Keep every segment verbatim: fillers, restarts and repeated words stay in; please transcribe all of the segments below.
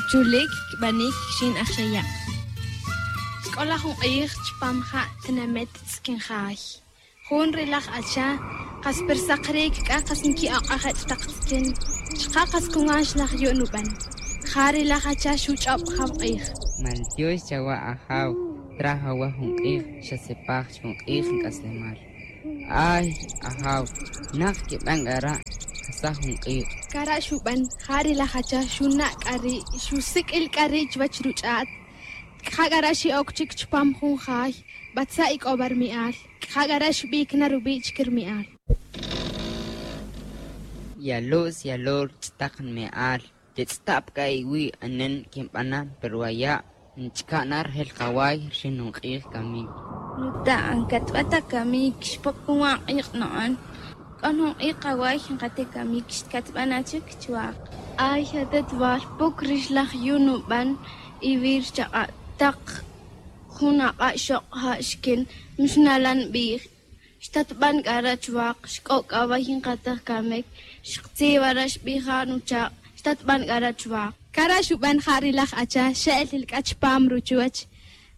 Chulic cbanic quixin aj xaya'. C'o laj jun k'ij chupam ja' tinamet tz'uquin ja̱y. Jun ri laj acha kas pirsakric c'a kas nqui'ok'aj ech' tak tz'iquin. Chuka' kas cungan xlaj yu' nuban. Ja ri laj acha xuch'ob jaw k'ij. Maltiox chawa' ajaw. Traj awa jun k'ij xasipaj chi jun k'ij nc'aslemal. Ay ajaw, nak quiban c'ara'. Casaj jun k'ij. Cara' xuban ja ri laj acha xuna' c'a ri' xusiq'uil c'a ri' chuwech ruch'at. C'a ja c'ara' xi'oc chic chupam jun ja̱y. Batza' ic'oba' rmi'al. C'a ja c'ara' xbic na rubi' chic rmi'al. Yalu's yalur ch'tak nmi'al. Yetz'ta' pa c'a iwi' anen quinbana' pa ruwaya'. Nchca' na rejel kaway rixin jun k'ij camic. Nuta' ncatba' ta camic xpop cunwan k'ij no'on. C'o jun k'ij kaway nkate camic xcatba' na chic chuwak. Ay atetwal puc rix laj yu' nuban. Iwi' rchak'a' tak jun ak'a' xok' ja' xiquin. Mixnala' nbij. Xtatban c'ara' chuwak xc'o' c'a way nkatej camic. Xktzibara' xbij ja' nuchak'. Xtatban c'ara' chuwak. Cara' xuban ja ri laj acha xe'lil c'a chupam ruchuwech.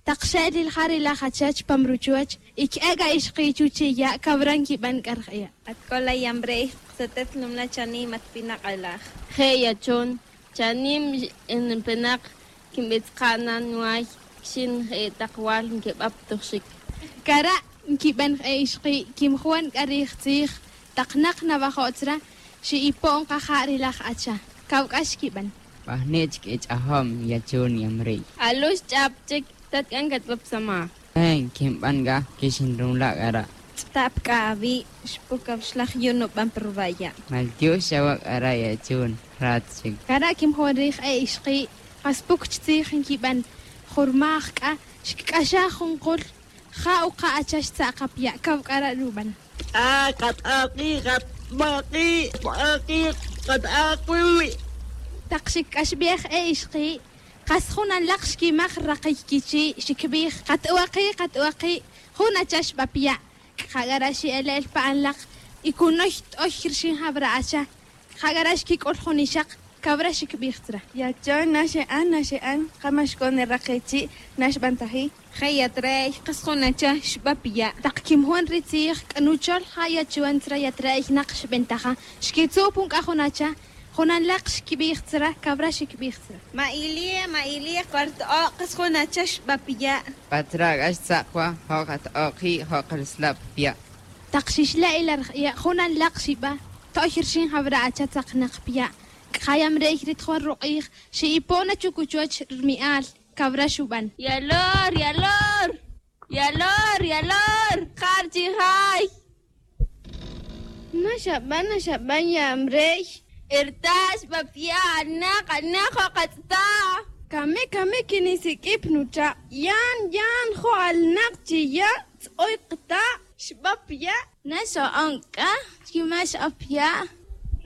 Tak xe'lil ja ri laj acha chupam ruchuwech. Y que'e c'a ixki' chuchi' ya' cawra nquiban c'a rej'e'. At c'o la yamrey. Ksetet lumla' chanim at pinak' alaj. Je' yachon. Chanim npenak quinbitzka' na nuway. Quixin je' tak wal nquibaptuj xic. Cara' nquiban je' ixki' quimjuan c'a rij tzij. Tak nak nawajo' tzra xi'ipo'n kaja' ri laj acha. Cawc'a xquiban. Pajni' chic ich'ajom yachon yamrey. Alux ch'ap chic. Tat c'a ncatbapsamaj. Ey quinban c'a quixinrumla' c'ara'. Ch'ta' pa c'a awi' xpucaw xlaj yu' nuban pa ruwaya'. Maltiox chawa' c'ara' yachun rat chic. Cara' quimjon rij e ixki'. Kas puc chi tzij nquiban. Jurmaj c'a xquic'axaj jun kul. Ja' uka' acha xtza' ka pa ya' caw c'ara' ruban. K'a kat'aki' katbaki' baki' kat'aki'. Tak xic'axbej e ixki'. Kas jun anlak xquimaj rakiy quichi' xicbij. Kat'uaki' kat'uaki'. Jun acha xba pa ya'. C'a ja c'ara' xi'ele'el pa anlak. Y cunoy t'oy rixin jawra acha. C'a ja c'ara' xquic'ul jun ixak. Cawra xicbij tzra. Yachon na xe'an na xe'an. Ka ma xcone rakiy chi' na xbantaji. Je' yatre'y kas jun acha xba pa ya'. Tak quimjon ri tzij c'a nuchol ja' yachon tzra yatre'y nak xbentaja. Xquitzu' pun c'a jun acha. Jun anlak xquibij tzra cawra xicbij tzra. Ma ili' ma ili' cuarto'o' kas jun acha xba pa ya'. Patra c'a xtzak wa jo' kato'o' ki' jo' kalesla' pa ya'. Tak xixle' ila rej'e' jun anlak xiba. To'y rixin jawra acha tzaknak pa ya'. C'a ja yamrey ri tijol ruk'ij xi'ipo' na chucuchuch rmi'al. Cawra xuban. Yalor yalor. Yalor yalor. Kar chi jay. Na xaban na xaban yamrey. Erta' xba pa ya' anak anak jo' katz'ta'. Camic camic quinisiq'ui pa nuchak'. Yan yan jo' alnak chi ya'. Tz'oy kata'. Xba pa ya'. Na xo'on c'a. Chi ma xo pa ya'.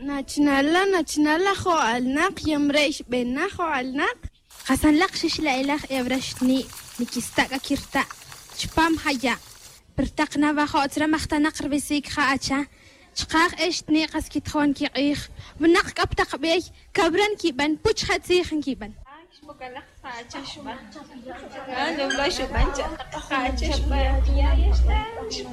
Nachnala' nachnala' jo' alnak yamrey xbena' jo' alnak. Kasanlak xixla'ilaj e awra xtni' niquista' c'a quirta'. Chupam ja ya'. Pirtak nawajo' tzra majtanak ribisic ja acha. Chkaj e xtni' kas quitijon quik'ij. Winak c'a pa tak bey. Cawra nquiban puch ja tzij nquiban.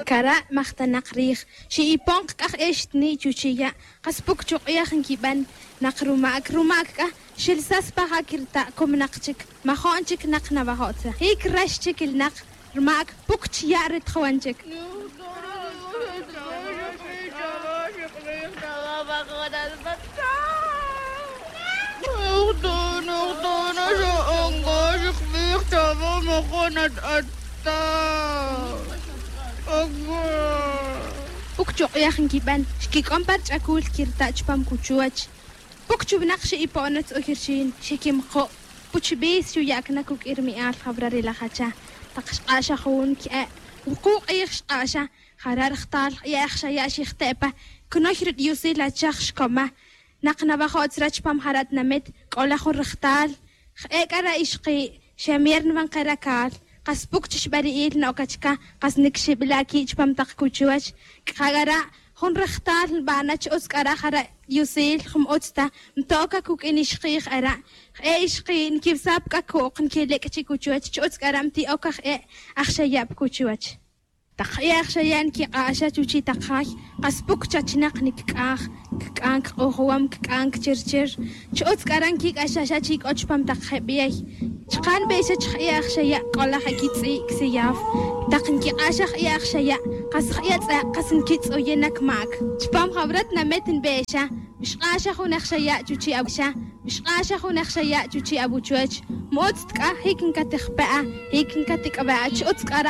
Cara' majtanak rij. Xi'ipon kc'aj e xtni' chuchi' ya'. Kas puc chuk'iyaj nquiban. Nak rumac rumac c'a. Xilsas pa ja' quirta' cumnak chic. Majo'n chic nak nawajo' tzra jic rax chic ilnak. Rmac puc chi ya' ri tijwan chic. Puc chuk'iyaj nquiban. Xquic'on pa rich'acul quirta' chupam cuchuwach. Puc chuwinak xi'ipo'on atz'uy rixin xiquimko'. Puch bis xuya'cna cuq'ui rmi'al jawra ri lajacha. Tak xk'axa jun que'e' wuku' k'ij xk'axa. Jara' rajtal ye'ej xaya' xijte' pa. Cnoy ri diosil achaj xcoma. Nak nawajo' tzra chupam jara' tinamit c'o la jun rajtal. Je'e' c'a ra ixki' xemier niwan ke racal. Kas puc chi xbari'il no'ca chica. Kas niquixibila' qui' chupam tak cuchuwach. C'a ja' c'a ra' Jun rejtal nbana' chi utz k'a ra' jara' yusil jun ma utz ta nto'oc acuq'uin ixki' jara'. Je'e ixki' nquibsa' pa c'acu'uk nquilec'chic uchuwech chi utz k'a ra' nti'oc aj e' aj xaya' pa cuchuwech. Tak je' aj xaya' nquik'axa chuchi' tak jay kas puc chachnak nicic'aj. Cic'an cak'ujwam cic'an cachirchir. Chi utz k'a ra' nquic'axa xa chi c'o chupam tak je' bey. Chaka' nbe'xa chi je' aj xaya' c'o laj aquitz'i' csiyaw. Tak nquik'axa je' aj xaya' kas je' atz'e' kas nquitz'uye' na cmac. Chupam jawrat namet nbe'xa. Mixk'axa jun aj xaya' chuchi' awuchwech. Mixk'axa jun aj xaya' chuchi' awuchwech. Ma utz ta c'a jic ncaticpe'a jic ncatic'be'a chi utz k'a ra'